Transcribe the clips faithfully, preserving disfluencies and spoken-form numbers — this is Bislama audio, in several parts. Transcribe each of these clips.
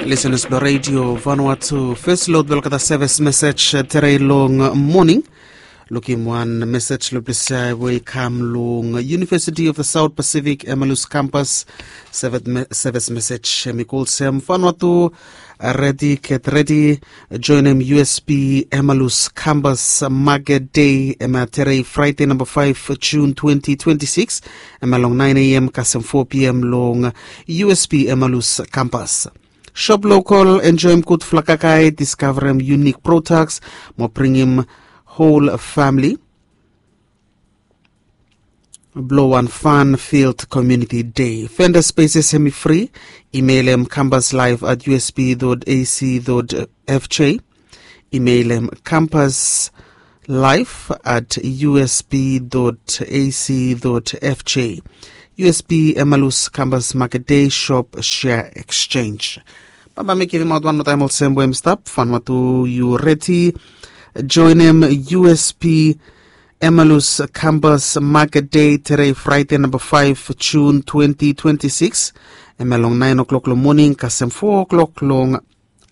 Lisenas blong redio Vanuatu, fes lod blong olgeta sevis mesej tere long moning. Lukim wan mesej long blong sae we i kam long University of the South Pacific Emalus Campus. Sevis mesej em i go olsem: Vanuatu, redi, get redi, joenem U S P Emalus Campus Market Day, em ya tere Fraede namba faef Jun twenty twenty-six, em ya long nine A M kasem four P M long U S P Emalus Campus. Shop local, enjoem gudfala kakae, diskavarem unique products mo bringim whole family blong wan fun-filled community day. Vendor spaces em i fri. Imeilem campus live at U S P dot A C dot F J. Imeilem campus live at U S P dot A C dot F J. U S P Emalus Campus Market Day, Shop Share Exchange. Bambae mi givimaot wan moa taem olsem we em i stap: Vanuatu, yu redi joenem U S P Emalus Campus Market Day tere Fraede namba faef Jun twenty twenty-six, em ya long naen o'clock long moning kasem four o'clock long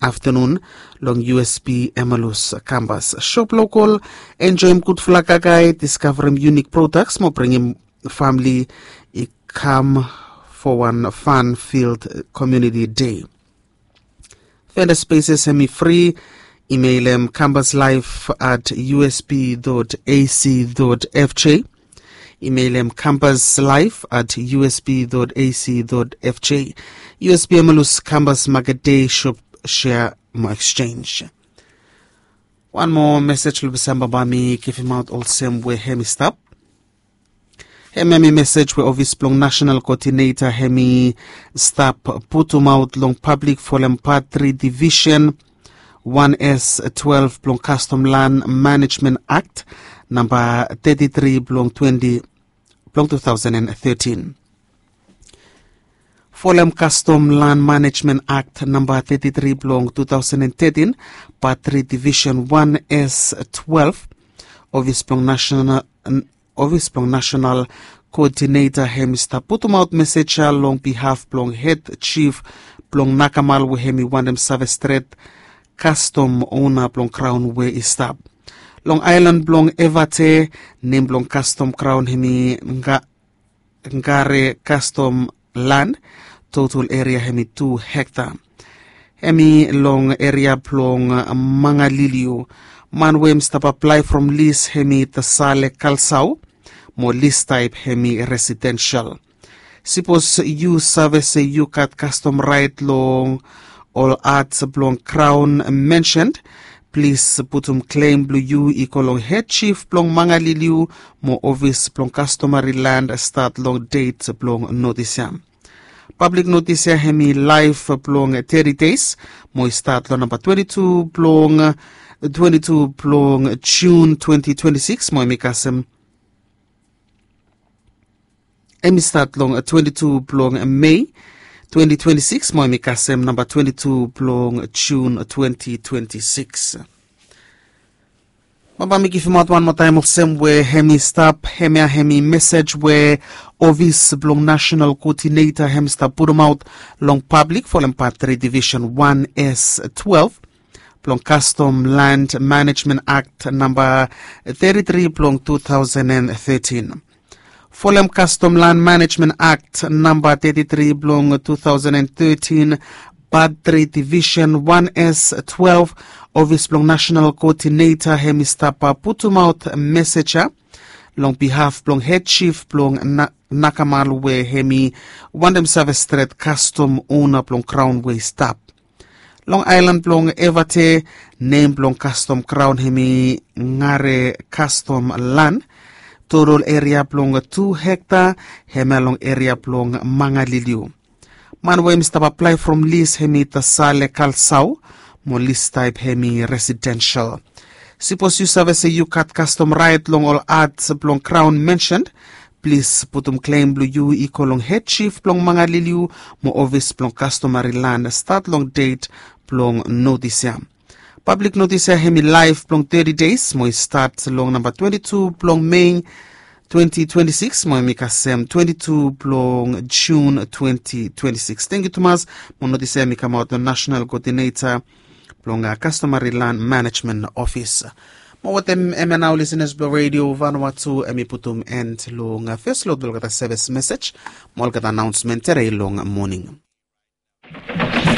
aftenun long U S P Emalus Campus. Shop local, enjoem gudfala kakae, diskavarem unique products mo bringim famili i kam for wan fun-filled community day. Vendor spaces em i fri. Imeilem campus live at U S P dot A C dot F J. Imeilem campus live at U S P dot A C dot F J. U S P Emalus Campus Market Day, Shop Share mo Exchange. Wan moa mesej long blong sae bambae mi givimaot olsem we em i stap. Hemia hemi mesej we ofis blong nasenal koodineta hemi stap putumaot long pablik folem pat tri divisen wan S twelve blong Kastom Lan Manejmen Akt namba teti tri blong twenti blong tu taosen and tetin. Folem Kastom Lan Manejmen Akt namba teti tri blong tu taosen and tetin, pat tri divisen wan S twelve, ofis blong nasenal ofis blong nasenal koodineta hemi stap putumaot mesej ya long bihaf blong hed jif blong Nakamal we hemi wantem save stret kastom ona blong graon we i stap. Long aelan blong Evate, nem blong kastom graon hemi Ngare Kastom Lan, total eria hemi tu hekta. Hemi long eria blong Mangaliliu. Man we hemi stap aplae from lis hemi Tasale Kalsau, mo lis taep hemi residensel. Sipos yu save se yu gat kastom raet long ol at blong graon mensen, plis putum klem blong yu i go long hed jif blong Mangaliliu mo ofis blong kastomari lan stat long det blong notis ya. Pablik notis ya hemi laef blong teti deis mo i stat long namba twenti tu blong twenti tu blong Jun twenti twenti sikis mo hemi kasem hemi stat long twenti tu blong Mei twenti twenti sikis mo hemi kasem namba twenti tu blong Jun twenti twenti sikis. Bambae mi givimaot wan moa taem olsem we hemi stap, hemia hemi mesej we ofis blong nasenal koodineta hemi stap putumaot long pablik folem pat tri divisen wan S twelve blong Kastom Lan Manejmen Akt namba teti tri blong tu taosen and tetin. Folem Kastom Lan Manejmen Akt namba teti tri blong tu taosen and tetin, pat tri divisen wan S twelve, ofis blong nasenal koodineta hemi stap putumaot mesej ya long bihaf blong hed jif blong Nakamal we hemi wantem save stret kastom ona blong graon we i stap. Long aelan blong Evate, nem blong kastom graon hemi Ngare Kastom Lan. Total eria blong tu hekta, hemia long eria blong Mangaliliu. Man we hemi stap aplae from lis hemi Tasale Kalsau, mo lis taep hemi residensel. Sipos yu save se yu gat kastom raet long ol at blong graon mensen, plis putum klem blong yu i go long hed jif blong Mangaliliu mo ofis blong kastomari lan stat long det blong notis ya. Pablik notis ya hemi laef blong teti deis mo i stat long namba twenti tu blong Mei twenty twenty-six mo em i kasem twenty-two blong Jun twenty twenty-six. Thank you tumas. Mo notis em i kamaot long national coordinator blong customary land management office. Mo wetem em ya nao lisenas blong radio Vanuatu, em i putum end long first load olgeta service message mo olgeta announcement terei long morning.